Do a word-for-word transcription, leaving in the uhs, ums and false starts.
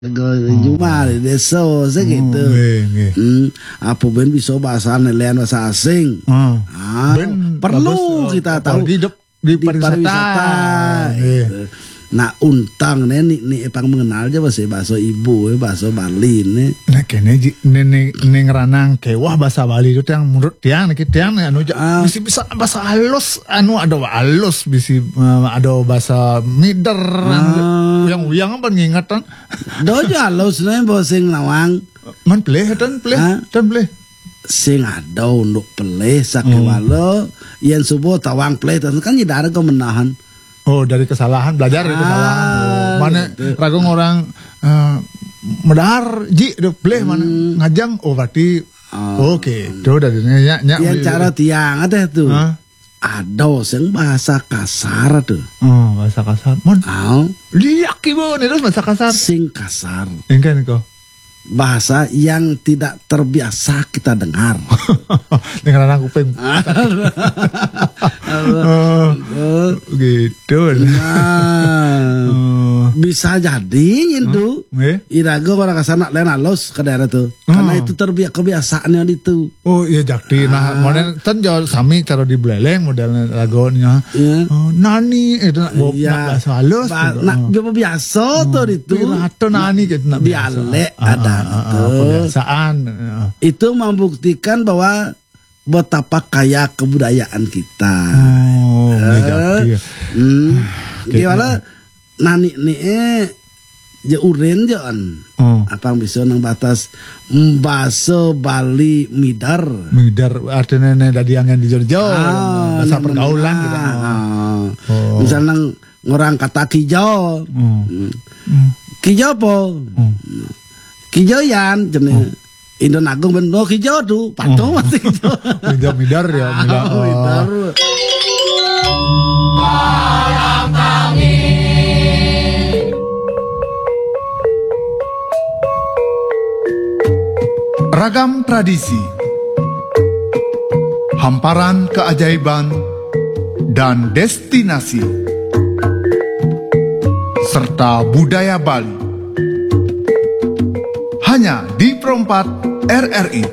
Juma di désa sakitu. Hmm, apa bén bisa bahasa lain, bahasa asing? Ah, perlu kita tahu. Apalagi hidup di pariwisata. Nah, untang né ni, ni pang mengenal ja bahasa, bahasa ibu, bahasa Bali né. Nah, kéné ji, né, né, né ngeranang kéweh bahasa Bali itu yang menurut tiang, né, tiang né, anu ja, bisi, bisa bahasa halus, anu ada halus, bisi, eh, ada bahasa mider, yang uyang apa ngingetan. Do ja halus né, bahasa sing nawang. Man pelih, tan pelih, tan pelih. Sing ada unduk pelih sakéwala, yén suba tawang pelih, tan kan nyidar ka menahan. Oh, dari kesalahan, belajar dari kesalahan. Oh, mana raga ngorang, eh, medar ji, da pelih mana ngajang, oh, berarti, oké, tu dari nya, nya, yén cara tiang ada tu. Ada sing bahasa kasar tu. Oh, bahasa kasar. Mun liak ibu ni terus bahasa kasar. Sing kasar. Engkan ko. Bahasa yang tidak terbiasa kita dengar. Dengar anak kuping. Oh, gitu. Nah, bisa jadi itu. Iraga orang kasar nak lain halus ke daerah tu. Karena itu terbiak kebiasaannya itu. Oh, iya, jakti. Nah, model tan jauh sami cara di Buleleng modelnya lagunya. Iya. Oh, nani itu nak, nak bahasa halus. Nak biasa tu itu. Pirata nani gitu, nak biasa. Dialek ada itu. Kebiasaan. Itu membuktikan bahwa betapa kaya kebudayaan kita. Oh, iya, jakti. Hmm. Gimana? Nani ni, eh, ja urin ja an. Apang bisa nang batas bahasa Bali mider. Mider artinya né dadi angin di Jogja. Bahasa pergaulan gitu. Misal nang ngorang kata kijo. Kijo apa? Kijo Yan, jenis. Indo Agung bén, oh, kijo tu, patung masih kijo. Mider, mider ya, mider. Oh, mider. Ragam tradisi, hamparan keajaiban, dan destinasi, serta budaya Bali. Hanya di Pro empat R R I.